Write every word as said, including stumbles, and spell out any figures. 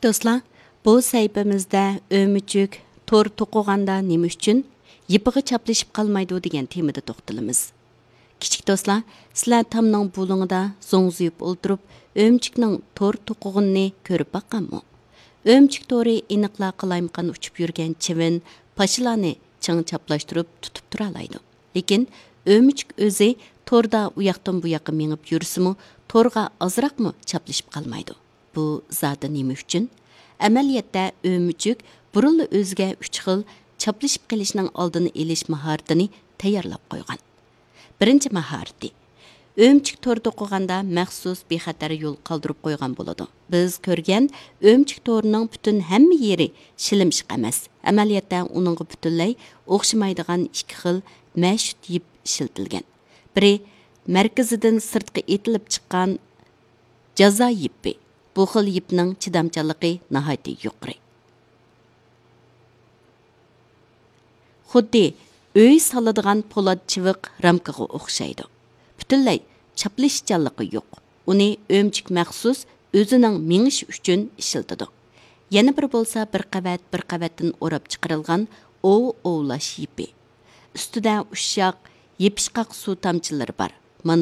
دوستلار، بۇ سەھىپىمىزدە ئۆمۈچۈك تور توقۇغاندا نېمە ئۈچۈن يىپىغا چاپلىشىپ قالمايدۇ دېگەن تېمىدا توختىلىمىز. كىچىك دوستلار، سىلەر تامنىڭ بۇلۇڭىدا زوڭزىيىپ ئولتۇرۇپ، ئۆمۈچۈكنىڭ تور توقۇغىنىنى كۆرۈپ باققانمۇ؟ ئۆمۈچۈك تورى ئېنىقلا قالايمىقان ئۇچۇپ يۈرگەن چىۋىن، پاشىلارنى چىڭ چاپلاشتۇرۇپ تۇتۇپ تۇرالايدۇ. لېكىن ئۆمۈچۈك ئۆزى توردا ئۇياقتىن بۇياققا مېڭىپ يۈرسىمۇ، تورغا ئازراقمۇ چاپلىشىپ قالمايدۇ. بۇ زادى نېمە ئۈچۈن؟ ئەمەلىيەتتە ئۆمۈچۈك بۇرۇنلا ئۆزىگە ئۈچ خىل چاپلىشىپ قېلىشنىڭ ئالدىنى ئېلىش ماھارىتىنى تەييارلاپ قويغان. بىرىنچى ماھارىتى. ئۆمۈچۈك تور توقۇغاندا مەخسۇس بىخەتەر يول قالدۇرۇپ قويغان بولىدۇ. بىز كۆرگەن ئۆمۈچۈك تورىنىڭ پۈتۈن ھەممە يېرى شىلىمشىق ئەمەس. ئەمەلىيەتتە ئۇنىڭغا پۈتۈنلەي ئوخشىمايدىغان ئىككى خىل مەشۇت يىپ ئىشلىتىلگەن. بىرى مەركىزىدىن سىرتقا ئېتىلىپ چىققان جازا يىپى. بۇ خىل يىپنىڭ چىدامچانلىقى ناھايىتى يۇقىرى. خۇددى ئۆي سالىدىغان پولات چىۋىق رامكىغا ئوخشايدۇ. پۈتۈنلەي چاپلىشىشچانلىقى يوق. ئۇنى ئۆمۈچۈك مەخسۇس ئۆزىنىڭ مېڭىشى ئۈچۈن ئىشلىتىدۇ. يەنە بىرى بولسا بىر قەۋەت، بىر قەۋەتتىن ئوراپ چىقىرىلغان ئوۋ ئوۋلاش يىپى. ئۈستىدە ئۇششاق، يېپىشقاق سۇ تامچىلىرى بار. مانا